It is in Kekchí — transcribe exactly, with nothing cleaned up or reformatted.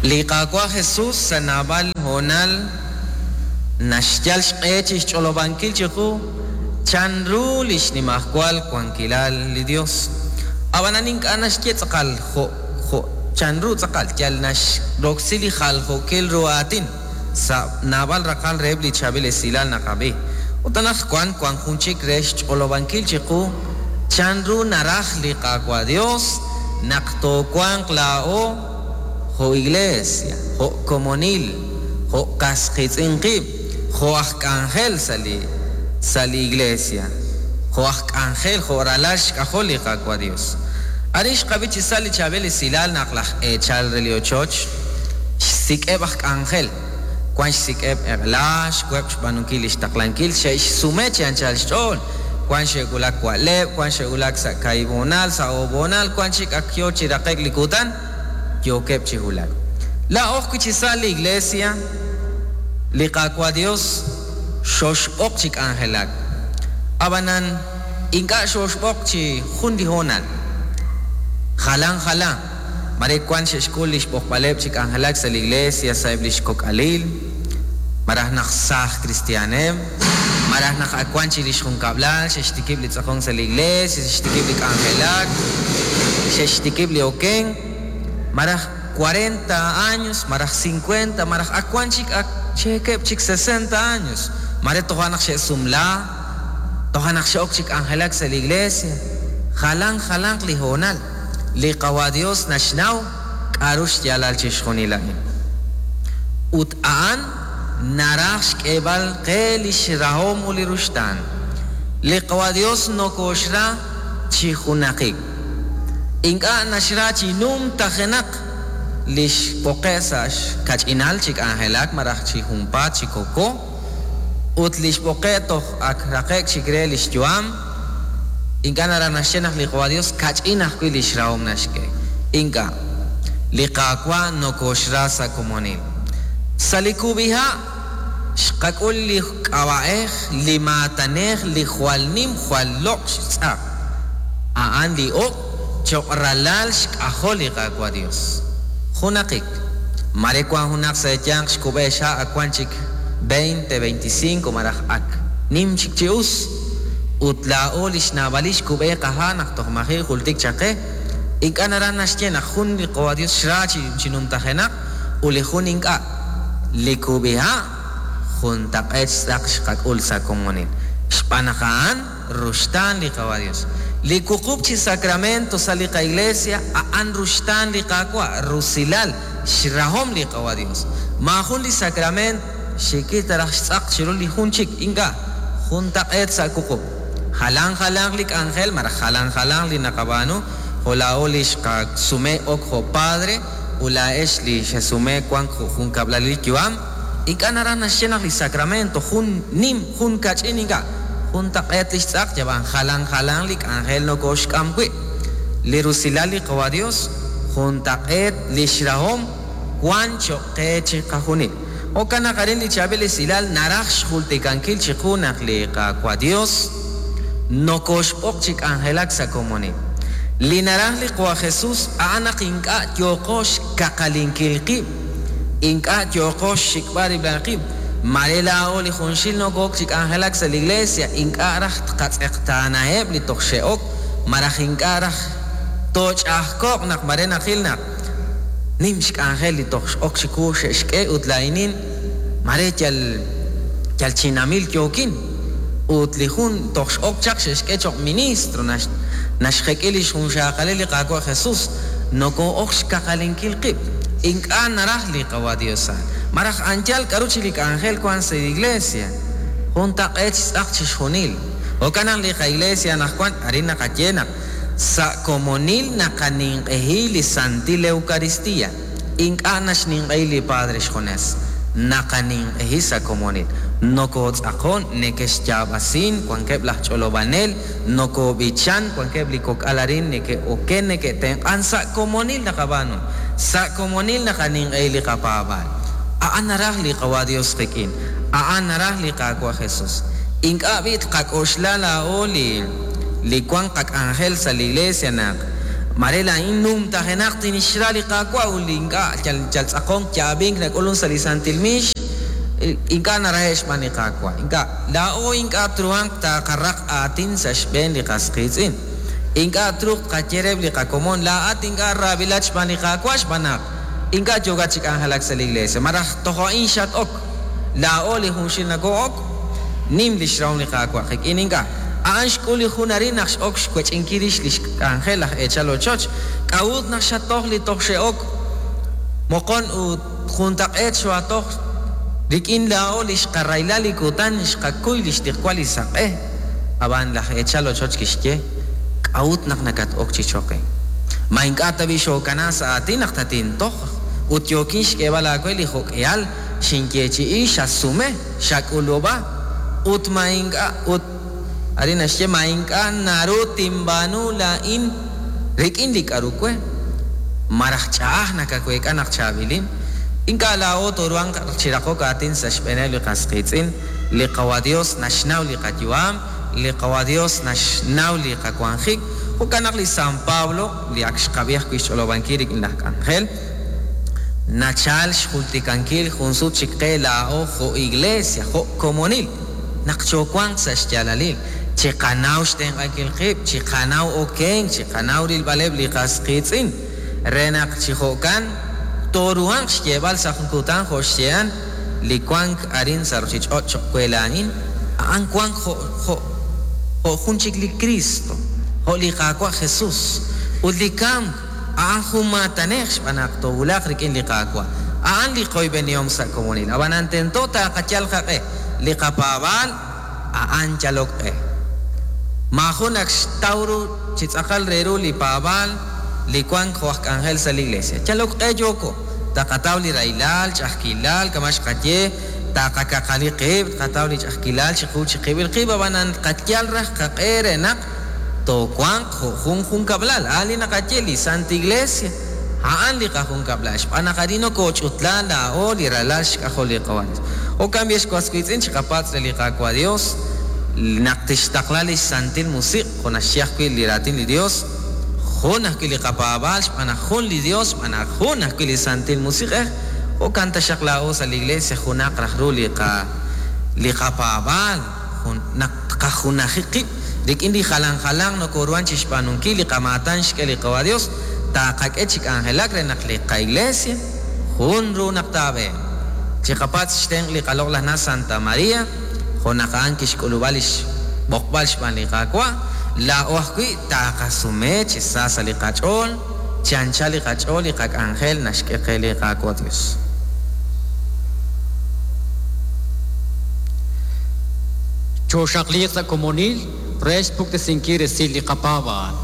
Li Qaawa' Jesus sa' naab'al hoonal naxyal xq'e chi xch'olob'ankil chiqu chanru li xnimajwal wankilal li Dios. Ab'anan ink'a' naxye tz'aqal jo' jo' chanru tz'aqal yal naxroksi li jaljookil ru aatin sa' naab'al raqal reheb' li chaab'il esilal naqab'i. Ut anaqwan wank jun chik re xch'olob'ankil chiqu chanru naraj li Qaawa' Dios naq toowanq laa'o jo' iglesia, jo' komonil, jo' qas qiitz'in qib', jo' aj k'anjel sa' li sa' li iglesia, jo' aj k'anjel, jo' ralal xk'ajol li Qaawa' Dios. Arin xqab'i chi sa' li chaab'il esilal naq laj eechal re li ochoch xsik'eb' aj k'anjel, wan xsik'eb' eq'la, xweb' xb'aanunkil li xtaqlankil, xe'xsume chi anchal xch'ool, wan xe'wulak wa'leb', wan xe'wulak sa' kaahib' hoonal, sa' oob' hoonal, wan chik ak yoo chi raqe'k li kutan, yookeb' chi wulak. Laa'o ajwi' chi sa' li iglesia, li Qaawa' Dios xoxb'oq chi k'anjelak. Ab'anan ink'a' xoxb'oq chi jun li hoonal. Jalan jalan. Mare wan xe'xk'ul li xb'oqb'aleb' chi k'anjelak sa' li iglesia sa'eb' li xkok'alil, maraj naq saaj kristiaaneb', maraj naq ak wan chi li xjunkab'lal, xe'xtikib' li tz'aqonk sa' li iglesia, xe'xtikib' li k'anjelak, xe'xtikib' li okenk, maraj cuarenta años, maraj cincuenta, maraj ak wan chik ak cheekeb' chik sesenta años, mare toja' naq xe'sumla, toja' naq xe'ok chi k'anjelak sa' li iglesia, jalan jalanq li hoonal. Li Qawa' Dios naxnaw k'a'ru xyaalal chixjunil a'in. Ut a'an naraj xk'eeb'al qe li xrahom ut li ruxtaan. Li Qawa' Dios nokoxra chi junaqik. Ink'a' naxra chi numtajenaq li xb'oqe' sa' xkach'inal chi k'anjelak maraj chi junpaat chi koko, ut li xb'oqe' toj ak raqe'k chik re li xyu'am. Ink'a' naraj naxye naq li Qawa' Dios kach'in ajwi' li xrahom naxk'e. Ink'a'. Li Qaawa' nokoxra sa' komonil. Sa' li kub'iha' xqak'ul li k'ab'a'ej, li maatanej, li jwal nim, jwal loq' xtz'aq. A'an li ok choq' ralal xk'ajol li Qaawa' Dios. Junaqik. Mare wan junaq sa' eeyanq xkub'e xha' ak wan chik veinte, veinticinco maraj ak nim chik chi us. Ut laa'o li xnaab'alil xkub'e qaha' naq toj maji' jultik chaqe. Ink'a' naraj naxye naq jun li Qawa' Dios xra chi, chi numtajenaq ut li jun ink'a'. Li kub'iha' juntaq'eet xtz'aq xqak'ul sa' komonil. Xb'aan naq a'an ruxtaan li Qawa' Dios. Li wuqub' chi sacramento sa' li qaiglesia a'an ruxtaan li Qaawa', rusilal, xrahom li Qawa' Dios. Maajun li sacramento xikil taraj xtz'aq chiru li jun chik ink'a', juntaq'eet sa' wuqub'. Jalan jalan li k'anjel, maraj jalan jalan li naqab'aanu, jo' laa'o li xqasume ok jo' padre, ut laa'ex li xesume wank jo' junkab'lal li yu'am. Ink'a' naraj naxye naq li sacramento jun nim, jun kach'in ink'a', juntaq'eet li xtz'aq, yab'an jalan jalan li k'anjel nokoxk'am wi'. Li rusilal li Qawa' Dios, juntaq'eet li xrahom wan choq' qe chi qajunil. Jo'kan naq arin li chaab'il esilal naraj xjultikankil chiqu naq li Qaawa' Dios nokoxb'oq chi k'anjelak sa' komonil. Li naraj li Qawa' Jesus a'an naq ink'a' yooqo xkaqalinkil qib', ink'a' yooqo xxik'b'al rib'al qib'. Mare laa'o li junxil nokook chi k'anjelak sa' li iglesia, ink'a' raj tqatz'eqtaanaheb' li toj xe'ok, maraj ink'a' raj tooch'ajko'q naq mare naqil naq nim xk'anjel li toj x'ok chiqu xe'xk'e ut laa'inin mare yal, yal chinamil yookin. Ut li jun toj x'ok chaq xe'xk'e choq' ministro, nax-, naxjek'i li xjunxaqalil li Qaawa' Jesus, noko'ok xkaqalinkil qib'. Ink'a' naraj li Qawa' Dios a'an. Maraj anchal k'a'ru chi li k'anjel wan sa' li iglesia, juntaq'eet xtz'aq chixjunil. Jo'kan naq li qa'iglesia anaqwan arin naqaye naq sa' komonil naqaninq'ehi li Santil Eucaristía. Ink'a' naxninq'ehi li Padre xjunes, naqaninq'ehi sa' komonil. Nokotz'aqon, nekexyaab'asin, wankeb' laj ch'olob'anel, nokob'ichan, wankeb' li kok'al arin neke'oken, neke'tenq'an, sa' komonil naqab'aanu. Sa' komonil naqaninq'ehi li qapaab'aal. A'an naraj li Qawa' Dios qik'in, a'an naraj li Qaawa' Jesus. Ink'a' b'i' tqak'oxla laa'o li, li wan qak'anjel sa' li iglesia naq Mare laa'in numtajenaq tinixra li Qaawa' ut li ink'a' yal yal tz'aqonk yaab'ink nak'ulun sa' li santil miix ink'a' narahe' xb'aan li Qaawa'. Ink'a' laa'o ink'a' truhanq taaqaraq aatin sa' xb'een li qas qiitz'in. Ink'a' truuq tqaye reheb' li qakomon laa'at ink'a' raabilat xb'aan li Qaawa' xb'aan naq ink'a' yookat chi k'anjelak sa' li iglesia. Maraj toj a'in xat-ok. Laa'o li junxil nakoo'ok nim li xrahom li Qaawa' qik'in ink'a'. A'an xk'ul li jun arin naq x'ok xwech'inkil rix li xk'anjel laj eechal ochoch. K'a'ut naq xatoj li toj xe'ok moqon ut juntaq'eet xoatoj rik'in laa'o li xqarayla li kutan xqakuy li xtiqwal li saq'e. Ab'an laj eechal ochoch kixye k'a'ut naq nakat-ok chi choqe. Ma ink'a' tab'i xookana sa' aatin naq tatintoj ut yookin xk'eeb'al aawe li jok'ehal xinyeechi'i xasume xak'ulub'a ut ma ink'a' ut arin naxye ma ink'a' naru tinb'aanu laa'in rik'in li k'aru we. Maraj ch'a'aj nakaweek'a naq chaab'ilin. Ink'a' laa'o toruhanq chi raqok aatin sa' xb'eeneb' li qas qiitz'in. Li Qawa Dios naxnaw li qayu'am, li Qawa Dios naxnaw li qawanjik. Jo'kan naq li San Pablo li ak xqab'i ajwi' xch'olob'ankil rik'in laj k'anjel nachal xjultikankil jun sut chik qe laa'o jo' iglesia, jo' komonil naq chowanq sa' xyaalalil. Chiqanaw xtenq'ankil qib', chiqanaw okenk, chiqanaw rilb'aleb' li qas qiitz'in. Re naq chi jo'kan toruhanq xyeeb'al sa' jun kutan jo' xye'an li wank arin sa' ruchich'och' choq' we laa'in, a'an wank jo' jo' jo' jun chik li Cristo, jo' li Qaawa' Jesús. Ut li kamk a'an jun maatanej xb'aan naq toowulaq rik'in li Qaawa'. A'an li qoyb'enihom sa' komonil. Ab'anan tento taaqayal qaq'e li qapaab'aal a'an yalok q'e. Maajun ak xtaw ru chi tz'aqal re ru li paab'aal li wank jo' aj k'anjel sa' li iglesia. Yalok q'e yooko. Taqataw li rahilal, ch'ajkilal, kama xqaye, taqakaqali qib', tqataw li ch'ajkilal chiqu chiqib'il qib', ab'anan qayal raj qaq'e re naq toowanq jo' jun junkab'lal. A'an li naqaye li Santa Iglesia, a'an li qajunkab'lal. Xb'aan naq arin nokooch'utla laa'o li ralal xk'ajol li Qawa Dios. Jo'kan b'i xwas wiitz'in chiqapatz' re li Qaawa' Dios naq tixtaqla li Santil Musiq' jo' naxye ajwi' li raatin li Dios, jun ajwi' li qapaab'aal xb'aan naq jun li Dios, xb'aan naq jun ajwi' li Santil Musiq'ej. Jo'kan taxaq laa'o sa' li iglesia junaq raj ru li qa li qapaab'aal, jun naq tqajunaji qib' rik'in li jalan jalan nokooruhan chi xb'aanunkil li qamaatan xk'e li Qawa Dios, taaqak'e chi k'anjelak re naq li qaiglesia jun ru naq taab'e. Chiqapatz' xtenq' li qaloq'laj na Santa María, jo' naq a'an kixk'ulub'a li xb'oqb'al xb'aan li Qaawa', laa'o ajwi' taaqasume chi sa sa' li qach'ool, chi anchal li qach'ool li qak'anjel naxk'e qe li Qaawa' Dios. Choxaqliq sa' komonil re xpuktesinkil resil li qapaab'aal.